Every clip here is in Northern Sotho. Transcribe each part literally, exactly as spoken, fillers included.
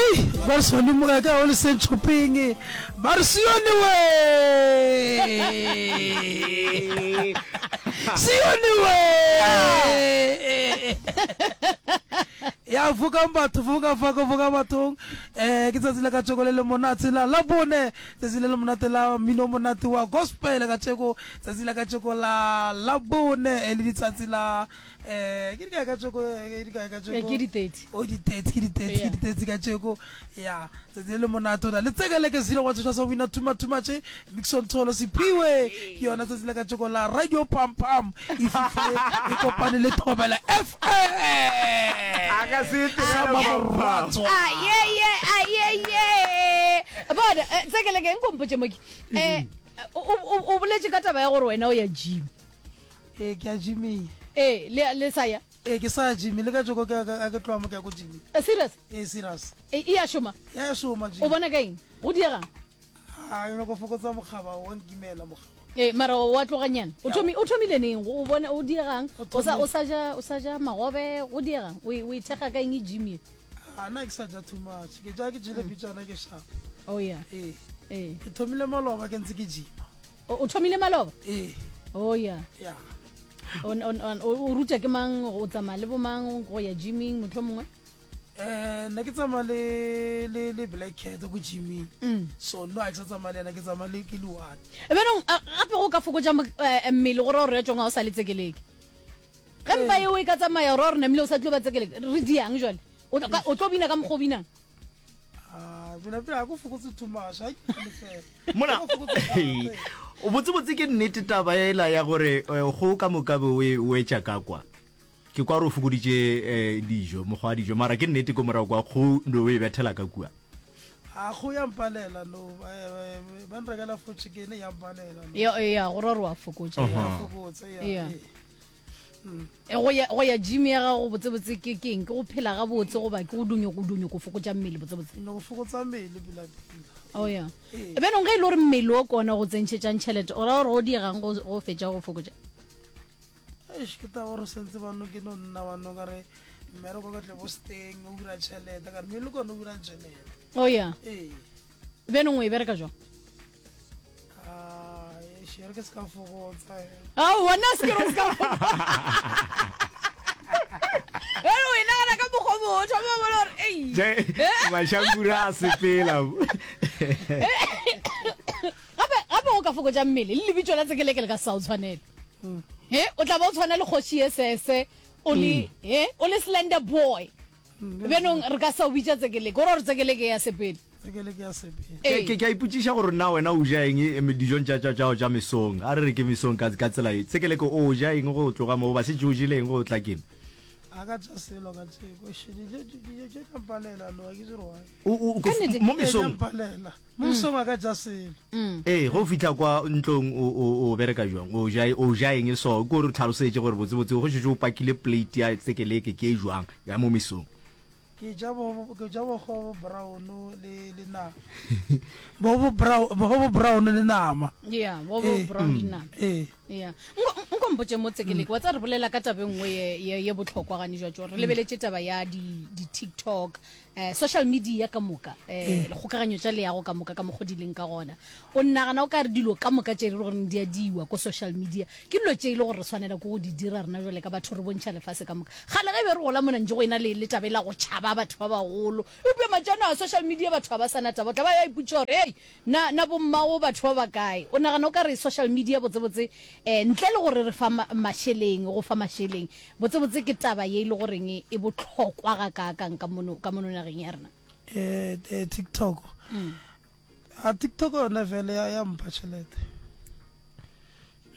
Ei, ba re sone moga ka o le sentšhopeng ba re sione we sione we ya fokang batho foka faka foka bathong um ke tsatsi la ka tšeko le le monate la la bone tsatsi le le monate la mmino monate wa gospel ka tšeko tsatsi la ka tšeko la la bone e le letsatsi la um ke dikae ka tšeko ke dikae ka tšeko ke di-thirty o di-thirty ke di-thirty ke di-thirty ka tšeko ya tsatsi le le monate o na le tsekeleke zero wa tsoša sa wina tuma tuma tše mixon tholo sephiwe ke yona tsatsi la ka tšeko la radio pam pam e fihlile e kopane le thobela f m A ka se sama moratwa ayeye ayeye bona eh, tsekeleke nkompotse moke um o boletše ka taba ya gore wena o ya gym ee ke ya gyming ee le le sa ya ee ke sa ya gyming le ka tšeko ke a ke tloga mo ke ya ko gyming Eh, serious ee serious e e ya šoma ya šoma o gym bona ka eng go diegang a yone go fokotsa mokgaba wa nkimela mokgaba ee mara wa tloganyana o thomi- o thomile neng o bona o diegang O o sa thomile. o sa ja o sa ja magobe go diegang o e o ithekga ka eng e gym ye a nna ke sa ja too much ke ja ke jele pitšana ke shapa oh ya ee ee ke thomile maloba ke ntse ke gyma o o thomile maloba ee oh ya ya o o- o o ruta ke mang o tsamaya le bomang go ya gyming motlho mongwe um nna ke tsamaya le le le black cat ko gyming Mm. so no a ke sa tsamaya le ena ke tsamaya le ke le one benong gape go ka fokotša mo- eh, mmele gore gore ya tsong ga o sa le tsekeleke ge mpa eo e ka tsamaya gore gore namile o sa tlo ba tsekeleke re diang jale o tlo ka- o tlo bina ka mokgwa o binang a pela pela ga ko fokotse too much ga ke le fela mona Ga ko fokotse thata. botsebotse ke nnete taba ela ya gore eh, go ka moka be o e- o etša ka kwa ke kwa re o fokoditše eh, dijo mokgwa wa dijo mara ke nnete ko morago kwa kgo no o e bethela ka kua a go ya mpalela no eh, eh, ba nrekela fo chicken ya mpalela no ya ya gore gore wa fokotša ya fokotse ya Yeah. ee. E, go ya go ya gym ya gago botsebotse ke keng ke go phela gabotse goba ke go dunyo go dunyo go fokotša mmele botsebotse no go fokotsa mmele pela pela oh ya Ee. benong ge e le gore mmele o kona go tsentšhetšang tšhelete o ra gore go diegang go go fetša go fokotša eish ke taba gore sentse bano ke no nna bano ka re mmereko ka tle bo steng o dira tšhelete ka re mmele ke one o dirang tšhelete oh ya ee benong o e bereka jwang Ah, eish, e re ke se ka fokotsa eh. ao wena se ke re o se ka ere o e nagana ka mokgwa o mongwe o thoma o bona gore ei mašankura a sepela gape gape o ka fokotša mmele le lebitso la tsekeleke le ka se sa o tshwanele he o tla ba o tshwana le kgoši ye sese o le he o le slender boy benong re ka sa o bitša tsekeleke o ra gore tsekeleke ya sepele tsekeleke ya sepele Ee. ke ke a ipotšiša gore na wena o ja eng eh, dijong tša tša tša tša mesong a re re ke mesong ka ka tsela e tsekeleke o ja eng go tloga mo ba setse o jele eng go tla keng a ka tša selo ka tšeko Eish, dijo dijo tše tša mpalela no ga ke dire why O- o- o- Ka nnete. mo Ee, tša mesong mpalela mo mesong a ka ja selo ee go fitlha kwa ntlong o o o bereka jwang o ja o ja eng so ke gore o tlhalosetše gore botsebotse go šetše o pakile plate ya tsekeleke ke e jwang ya mo mesong ke ja bo ke ja bogobo brown le le nama bogobo brown bogobo brown le nama ya bo bo Ee. brown le nama ee ya Nko- nko mpotše mo tsekeleke wa tsa re bolela ka taba e nngwe ye- ye ye bohlokwa gane jwa tso re lebeletše taba ya di- di-tiktok um social media ka moka um dikgokaganyo tša leago ka moka ka mokgo di leng ka gona o nagana o ka re dilo ka moka tše e le goreng di a diwa ko social media ke dilo tše e le gore re tshwanela ke go di dira rena jale ka batho re bontšha lefase ka moka gale ge be re gola monantse go ena le le taba e la go tšhaba batho ba bagolo eupša matšano a social media batho ga ba sana taba o tla ba ya ipotša gore ei na na bommago batho ba bakae o nagana o ka re social media botsebotse um ntle le gore re fa ma- mašeleng go fa mašeleng botsebotse ke taba ye e le goreng e botlhokwa ga kaakang ka mono ka mono nageng ya rena eh eh, tiktok a tiktok yona fele ya ya mpha tšhelete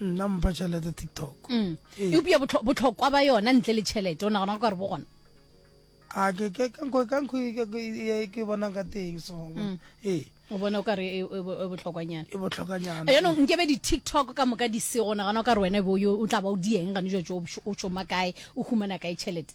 nna mpha tšhelete tiktok Mm. Ee. eupša botlho- botlhokwa ba yona ntle le tšhelete o nagana o ka re bo gona a ke ke ka nko ka nko e- e- e- ke bonang ka teng so ee o bona o ka re e e bo- e botlhokwanyana e botlhokanyana jaanong nkebe di-tiktok ka moka di sego nagana o ka re wena bo yo o tla ba o dieng gane jwa o šoma kae o humana kae tšhelete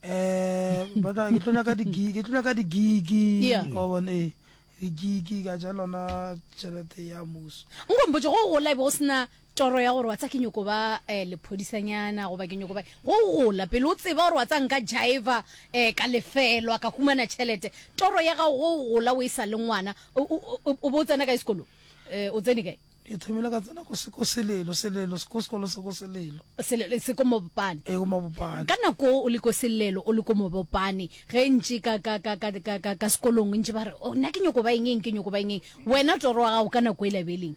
um but ke tlo nyaka di-gig ke tlo nyaka di-gig Yeah. wa bona ee di-gig ka ja lona tšhelete ya muso nkompotse go gola e be go sena toro ya gore wa tsa ke nyoko ba um lephodisanyana goba ke nyoko ba go gola pele o tseba gore wa tsa nka jiva um ka lefelwa ka humana tšhelete toro ya gago go gola o e sa le ngwana o o- o- o bo o tsena kae sekolo um o tsene kae ke thomile ka tsena ko se- ko selelo selelo ko sekolo se ko selelo Selelo- se ko mobopane e ko mabopane ka nako o le ko selelo o le ko mobopane ge ntše ka ka ka ka ka ka ka sekolong ntše ba re "Oh, nna ke nyoko ba eng eng ke nyoko ba eng eng wena toro wa gago ka nako e labeleng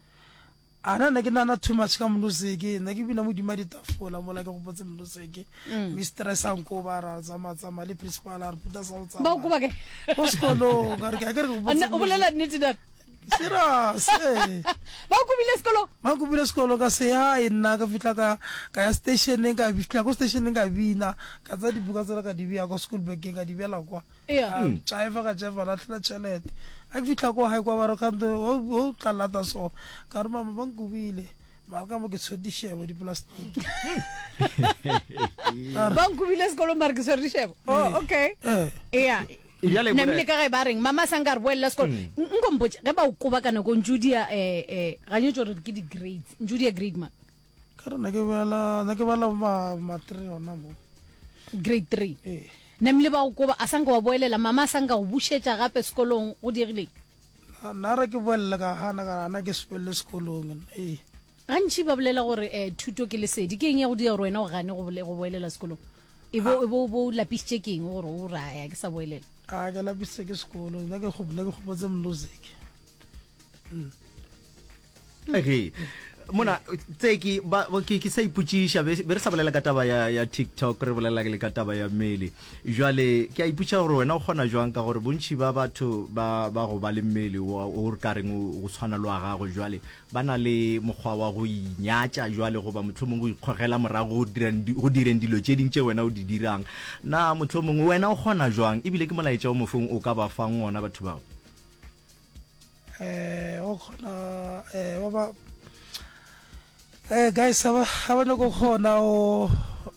a na nna ke nana too much ka music nna ke bina modimo a ditafola mola ke gopotse music mistress a nko ba ra tsamaya tsamaya le principal a re puta sa go ba o koba kae ko sekolong ka re ke a ke re ke A gopotse nna- o bolela nnete na serious ee ba o kobile sekolong ba nkopile sekolo ka se hae nna ka fitlha ka ka ya stationeng ka fitlha ko stationeng ka bina ka tsaya dibuka tsela ka di beya kwa school bageng ka di beela kwa Iya. jiva ka jiva latlhela tšhelete a ke fitlha ko gae kwa ba re kante o tla lata so ka re mama ba nkobile mara ka mo ke tshwere dišebo diplastiki ba nkobile sekolong mare ke tshwere dišebo oh okay ee ea Bjale namile mona- ka ge ba reng mama sa nka re boelela sekolo nko mpotse ge ba o koba ka nako ntse o dia um um ganyetse gore ke di-grades ntse o dia grade ma ka re nna ke bala nna ke bala ma ma-three gona mo grade three ee namile ba o koba a sanka wa boelela mama a sanka go bušetša gape sekolong go diregileng nna re ke boelela ka gana ka ana ke sepelele sekolong ee gantši ba bolela gore um thuto ke lesedi ke eng ya go dira gore wena o gane go bole- go boelela sekolong e bo e bo- bo o lapišitše ke eng gore o raya ke sa boelela a ke lapisitse ke sekolo nna ke nna ke gopotse music ge mona tseki ba ba- ke ke sa ipotšiša be be re sa bolela ka taba ya ya tiktok re bolela le ka taba ya mmele jwale ke a ipotša gore wena o kgona jwang ka gore bontši ba batho ba ba go ba le mmele wa o re ka reng o o tshwana le wa gago jwale ba na le mokgwa wa go inyatša jwale goba mohlomongwe go ikgogela morago go dirang di- go direng dilo tše ding tše wena o di dirang na mohlomongwe wena o kgona jwang ebile ke molaetša o mofeng o ka ba fang ona batho bao eh o kgona eh ba ba eh guys ha ba ha ba nyako kgona o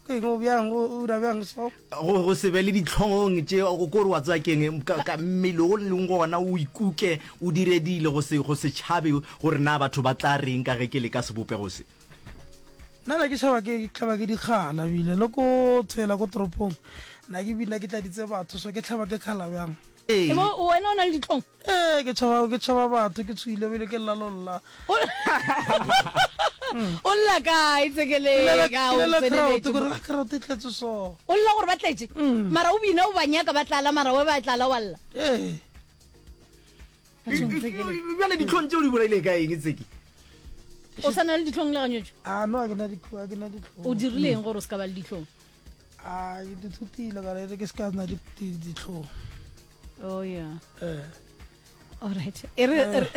ke eng o bjang o o dira bjang so go go se be le ditlhong tše go kore wa tseba keng ka ka mmele o leng gona o ikuke o dire dilo go se go se tšhabe gore na batho ba tla reng ka ge ke le ka sebopego se nna na ke tšhaba ke tlhaba ke dikgala bile le ko tshela ko toropong nna ke bina ke tladitse batho so ke tlhaba ke kgala bjang ee E bo wena o na le ditlhong ee ke tšhaba ke tšhaba batho ke tshoile bile ke lla lolla o lla kae tsekeleka o crowd tseneletše gore la crowd e tletse so o lla gore ba tletše mara o bina o ba nyaka ba tlala mara we ba tlala wa lla ee Bathong, Tsekele. bjale ditlhong tšeo di bolaile ka eng tseki o sa na le ditlhong le ganyetso a no a ke na ditlhong a ke na ditlhong o dirileng gore o se ka ba le ditlhong a ke dithutile ka re ke se ka nna di- di- ditlhong oh yeah ee alright e re re-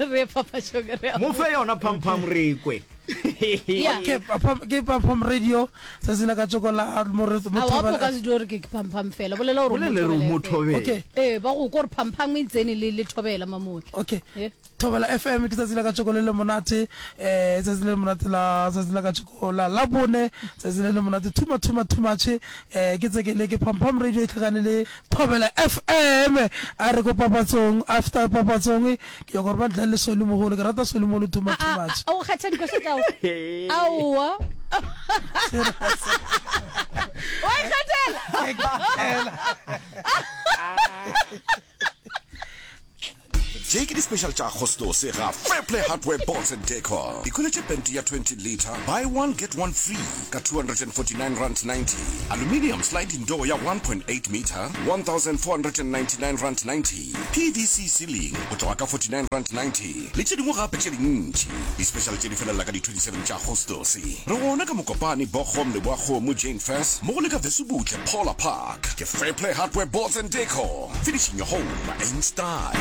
re papatšong re a mo fe yona phampham re kwe Yeah. ke Pam- ke pam radio tsatsi la ka tsoko la mo re- mo a wa Thobela ka se di gore ke phampham fela bolela gore o bolele re mo mo thobela thobele okay ee ba go ko gore phampham e tsene le le thobela mamotle okay Eh. thobela fm ke tsatsi la ka tsoko le le monate um tsatsi le le monate la tsatsi la ka tsoko la labone tsatsi le le monate thuma thuma thumatšhe um ke tsekele ke pampham radio e tlhakane le thobela fm a re ko papatsong after papatsong ke ya gore ba ntlha le sole mogolo ke rata sole mogolo thuma A- a thumatšhe a o kgetha dikoša tšao aowa wa ikgethela tše ke di-special tša agostose ga Fairplay Hardware Boards and Decor ikhweletše pente ya twenty litre buy one get one free ka two hundred and forty-nine rand ninety aluminium sliding door ya one point eight meter one thousand four hundred and ninety-nine rand ninety P V C ceiling go tloga ka forty-nine rand ninety le tše dingwe gape tše dintši. Di-special tše di felela ka di twenty-seven tša agostose. Re gona ka Mokopane, Bochum, Leboakgomo, Jane Furse mo go le ka Vesubutle Paula Park. Ke Fairplay Hardware Boards and Decor, finishing your home in style.